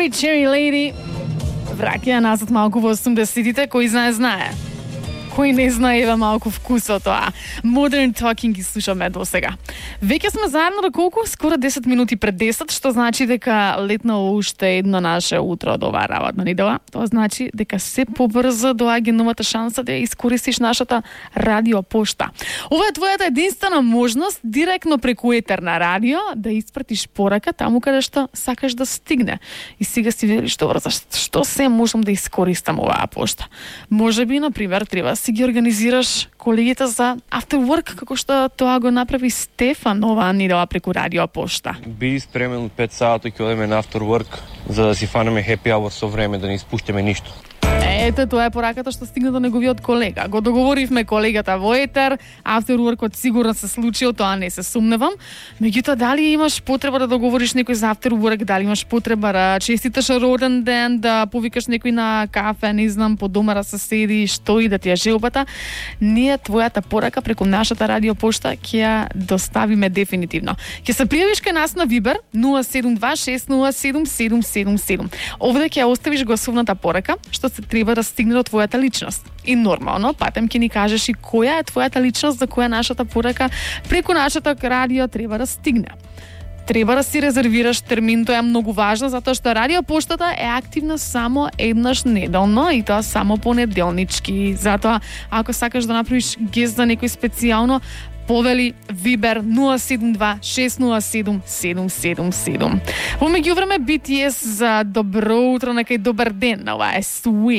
Cherry Cherry Lady враќа назад малку во 80-тите, кој знае. Кој не знае, ева малку вкусот тоа. Modern Talking ги слушаме до сега. Веќе сме заедно до колку? Скоро 10 минути пред 10, што значи дека летнало уште едно наше утро до оваа работна недела. Тоа значи дека се побрзо доаѓа новата шанса да ја искористиш нашата радиопошта. Ова е твојата единствена можност директно преку етер на радио да испратиш порака таму каде што сакаш да стигне. И сега си видиш добро, што се можам да искористам оваа пошта. Можеби, на пример, треба си ги организираш колегите за after work, како што тоа го направи Стефан оваа недела преку радиопошта. Биди спремен 5 сати ќе одиме на after work, за да си фанеме happy hour со време, да не испуштиме ништо. Ете, тоа е пораката што стигна до неговиот колега. Го договоривме колегата во етер, after workот сигурно се случил, тоа не се сумневам. Меѓутоа, дали имаш потреба да договориш некој за after work, дали имаш потреба да честиташ роден ден, да повикаш некој на кафе, не знам, по дома да се седи, што и да ти е желбата, ние твојата порака преку нашата радиопошта ќе ја доставиме дефинитивно. Ќе се пријавиш кај нас на Viber 072607777. Овде ќе ја оставиш гласовната порака, што се треба да стигне до твојата личност. И нормално, патем ќе ни кажеш и која е твојата личност за која нашата порака преку нашата радио треба да стигне. Треба да си резервираш термин, тоа е многу важно, затоа што радиопоштата е активна само еднаш неделно и тоа само понеделнички. Затоа, ако сакаш да направиш гест за некој специјално, повели Viber 072607777. Во меѓувреме BTS за добро утро, нека и добар ден, ова е Sweet.